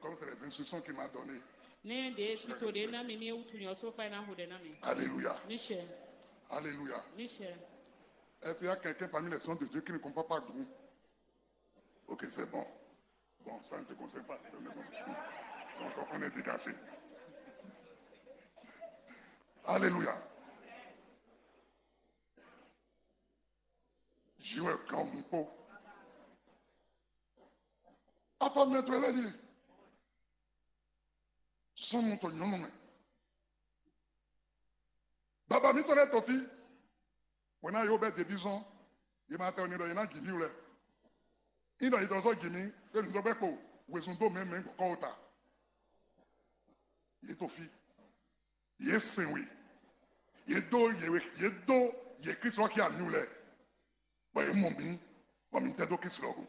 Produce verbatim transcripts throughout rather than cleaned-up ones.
Comme c'est les instructions qu'il m'a données. Ní ɖě tito ɖě ná mi ní wútu nyɔ só kpá ná hu ɖɛ ná mi. Alléluia. Michel. Alléluia. Michel. Est-ce qu'il y a quelqu'un parmi les sons de Dieu qui ne comprend pas Grou? Ok, c'est bon. Bon, ça ne te concerne pas. Donc, on est dégagé. Alléluia. Joueur grand moupo. Afɔ mɛ to lɛ li. Sɔnnu to nyɔnu mɛ. Baba mitɔn lɛ to fi. Wena yo bɛ debi zɔn. Ye ma tɛ ni ɖɔ ye na ji mi wlɛ. Yi ɖɔ yi dɔ zɔ ji mi. Fɛn mi dɔ gbɛ kpo. Wezun do mɛ mɛ gbɔkɔ wo ta. Ye to fi. Ye sɛn we. Ye do ye we ye do ye Kristu ɔ́ xia mi wlɛ. Bɔ ye mɔ mi bɔ mi tɛ dó Kristu ɔ́ go.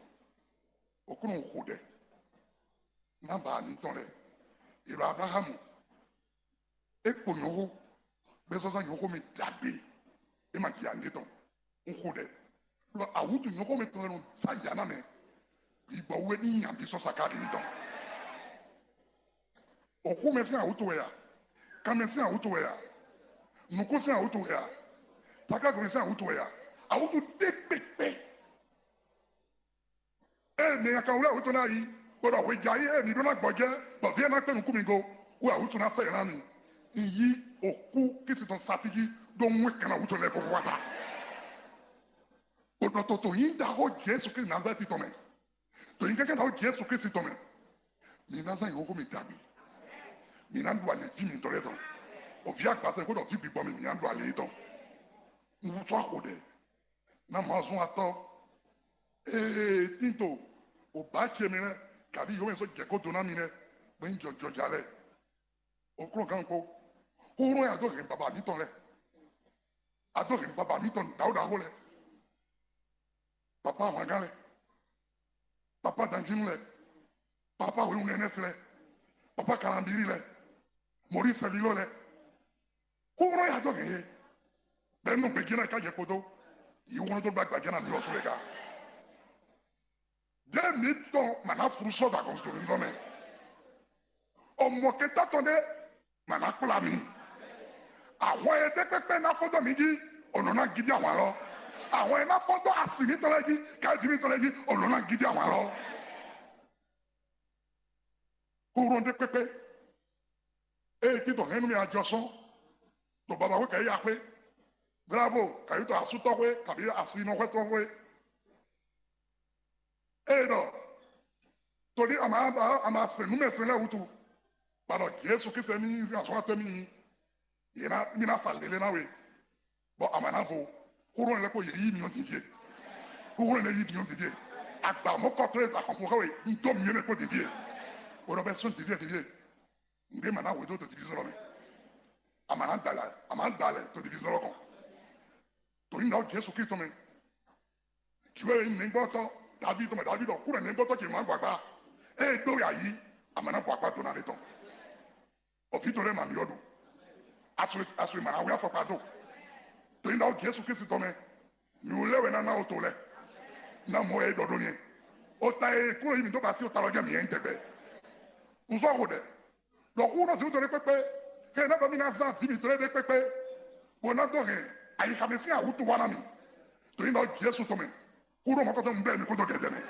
Okúnɔ xo ɖɛ. Má ba mitɔn lɛ. Èrò Abrahamu. É kpo nyɔ̌xó. Bɛ zɔzɔ nyɔ̌xó mi dagbe. É ma ji ande tɔn. Un xo ɖɛ. Ɖɔ awútu nyɔ̌xó mi tɔn lɛ nɔ zá yǎ ná mɛ. Gbígbɔ wú é ní nya bí sɔ́ sakáɖi mitɔn. Òxúmɛ sín awútu wɛ a? Kanmɛ sín awútu wɛ a? Nǔkún sín awútu wɛ a? Takágbɛn sín awútu wɛ a? Awútu ɖé kpékpé. Ée mi nya kan wlɛ́ awútu ná yi, bó ɖɔ hweja yí ée mi ɖó ná gbɔjɛ́, bɔ vǐ e ná kpé nukún mi go, wú awútu ná sɛ yě ná mi. Mi yí òkú Kristi tɔn satíjí ɖó wɛn kan awútu lɛ́ɛ kó wá ta. Bó ɖɔ to to nyí ɖaxó Jesu Kristi Nazalɛ́ti tɔn mɛ. To nyí kɛ́kɛ́ ɖaxó Jesu Kristi tɔn mɛ. Mi ná zán nyǐxóxó mi dagbe. Mi ná ɖu alě jí mitɔn lɛ́ɛ tɔn. Òví agbasɛ kpódò òví gbigbɔ mi, mi ná ɖu alě tɔn. Un sɔ́ xo ɖɛ. Ná mɔ azɔn atɔ́. Ee, tínto, ò bǎ ce mi lɛ́ɛ, kabí yǒ mɛ sɔ́ jɛ kó dó ná mi lɛ́ɛ, bó nyí jɔjɔja lɛ́ɛ. Òklúngán kpó. Xóxó ya dó hɛn baba mitɔn lɛ́ɛ. A dó hɛn baba mitɔn ɖaxó ɖaxó lɛ́ɛ. Papa ahwangán lɛ́ɛ. Papa danjínú lɛ́ɛ. Papa wěwunɛnɛsɛ lɛ́ɛ. Papa kalambírí lɛ́ɛ. Mɔ̌ɖí sɛvílɔ lɛ́ɛ. Xóxó ya dó hɛn yě. Bɛ́ nɔ gbějé ná ká jɛ kpódó. Yě wlɔ́n dó gba gbajɛ ná mi lɔ sú lɛ ká. Ɖé mitɔn ma ná flu sɔ́ da gɔn to mitɔn mɛ. Ɔmɔ kɛta tɔn ɖé ma ná kplá mi. Ahwan e ɖe kpɛkpɛ ná fɔ́n dó mi jí, ɔnɔ ná gidi ahwan lɔ. Ahwan e ná fɔ́n dó asi mitɔn lɛ́ɛ jí, káyɔ́ jí mitɔn lɛ́ɛ jí, ɔnɔ ná gidi ahwan lɔ. Kúrú ɖe kpɛkpɛ. Eye títɔ hɛn nú mi ajɔ sɔ́n. To baba xwé kɛ yi axwé. Bravo, kɛ yi to asútɔxwé, kabi asinɔxwɛtɔxwé. Eye ɖɔ, to ní a ma a ma sɛn nǔmɛsɛn lɛ́ɛ wútu. Ba ɖɔ Jesu Kristu mi nyí azɔn atɔ́ mi nyí. Yě ná mi ná fa lélé ná we. Bɔ a ma ná vo. Xóɖó lɛ́ɛ kó yě yí mi ɔ́ din fie. Xóɖó lɛ́ɛ yí mi ɔ́ din fie. Agba mɔ̌kɔtɔ́ e ta xɔnfɔ xá we, un dó mi yé mɛ kpó din fie. Bɔ ɖɔ bɛ sɔ́n din fie din fie. Nǔɖé ma ná hwedó to divízɔ́n lɔ mɛ. A ma ná da lɛ, a ma ná da lɛ to divízɔ́n lɔ kɔn. To ní ná Jesu Kristu mɛ. Jǐwé e nyí nɛ̌gbɔ́tɔ́ Davídi tɔn mɛ, Davídi ɔ́ kú ɖɔ nɛ̌gbɔ́tɔ́ ce má gbagba. Ée é dó we ayǐ, a ma ná bɔ akpá dó ná ɖe tɔn. Ɔ̌ vǐ tɔn lɛ́ɛ ma mi ɔ́ ɖu. Asu e ma ná wé afɔkpa dó. To nyí ɖaxó Jesu Kristu tɔn mɛ. Nǔ lɛ́ɛ wɛ ná ná o to lɛ́ɛ. Ná mɔ wɛ é ɖɔ ɖó nyɛ. O ta e kúnɔ yí mǐ dó ba sí o ta lɔ jɛ mǐ nyɛ nyí tɛgbɛ. Un sɔ́ xo ɖɛ. Ɖɔ xú nɔ zǐn dó ɖé kpékpé. Xɛ ná ɖɔ mí ná zán vǐ mǐtɔn lɛ́ɛ ɖé kpékpé. Bó ná dó hɛn ayixa mɛ sín awútu wá ná mì. To nyí ɖɔ Jesu tɔn mɛ. Xú nɔ mɔkɔtɔn un blɛ́ mi kpódó gɛ̌dɛ́ mɛ.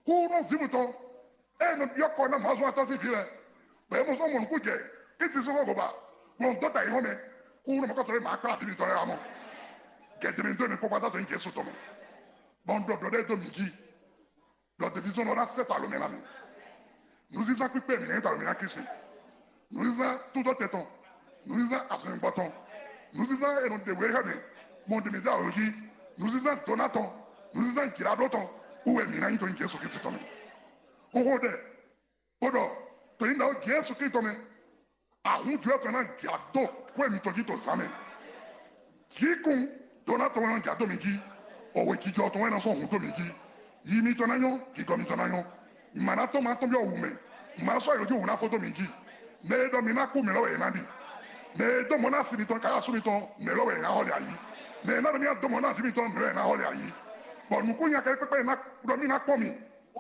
Xú nɔ zǐn mutɔn. Ée nɔ byɔ́ kɔ ná mɔ̌ azɔn atɔ́ sín vǐ lɛ́ɛ. Bɔ é mɔ sɔ́ mɔ nǔkún jɛ. Kí ti sɔ́ xɔ gɔba. Gbɔn dó ta yi hɔn mɛ. Xú nɔ mɔkɔtɔn lɛ́ɛ mǎ kplá vǐ mǐtɔn lɛ́ɛ wá mɔ. Gɛ̌dɛ́ mɛ dó mi kpɔ́kpá dó nyí Jesu tɔn mɛ. Bɔ un ɖɔ ɖɔ ɖɛ́ dó mi jí. Ɖɔ devízɔ́n ɔ́ ná sɛ́ ta alɔmɛ ná mi. Nǔzínzán kpíkpé mǐ ná nyí ta alɔmɛ ná Kristi. Nǔzínzán túntɔ́ tɛn tɔn, nǔzínzán azɔ̌nyigba tɔn, nǔzínzán e nɔ ɖe wě xá mɛ, mɔ ɖě mǐ dó awǒ jí, nǔzínzán dǒná tɔn, nǔzínzán jǐɖaɖó tɔn, wú wɛ mǐ ná nyí dó nyí Jesu Kristi tɔn mɛ. Xóxó ɖɛ, bó ɖɔ to nyí ɖaxó Jesu Kristu tɔn mɛ. Ahun jlɔ́ tɔn ná ja dó xwé mitɔn jí to zǎn mɛ. Jǐkún dó ná tɔn wɛ nɔ ja dó mi jí. Ɔwɛ jijɔ tɔn wɛ nɔ sɔ́ hun dó mi jí. Yi mitɔn ná nyɔ́, gǐgɔ́ mitɔn ná nyɔ́. Mǎ ná tɔ́n ma tɔ́n byɔ́ wǔ mɛ. Mǎ sɔ́ yǒjú wǔ ná fó dó mi jí. Mɛ e ɖɔ mi ná kú mɛ lɔ́ wɛ è nǎ ɖi. Mɛ e dó mɔ ná si mitɔn káyɔ́ asú mitɔn mɛ lɔ́ wɛ è nǎ xɔlɛ ayǐ. Mɛ e ná ɖɔ mí ná dó mɔ ná ví mitɔn mɛ lɔ́ wɛ è nǎ xɔlɛ ayǐ. Bɔ nǔkún nya kɛ́ɖɛ́ kpɛ́kpɛ́ e ná ɖɔ mí ná kpɔ́n mi.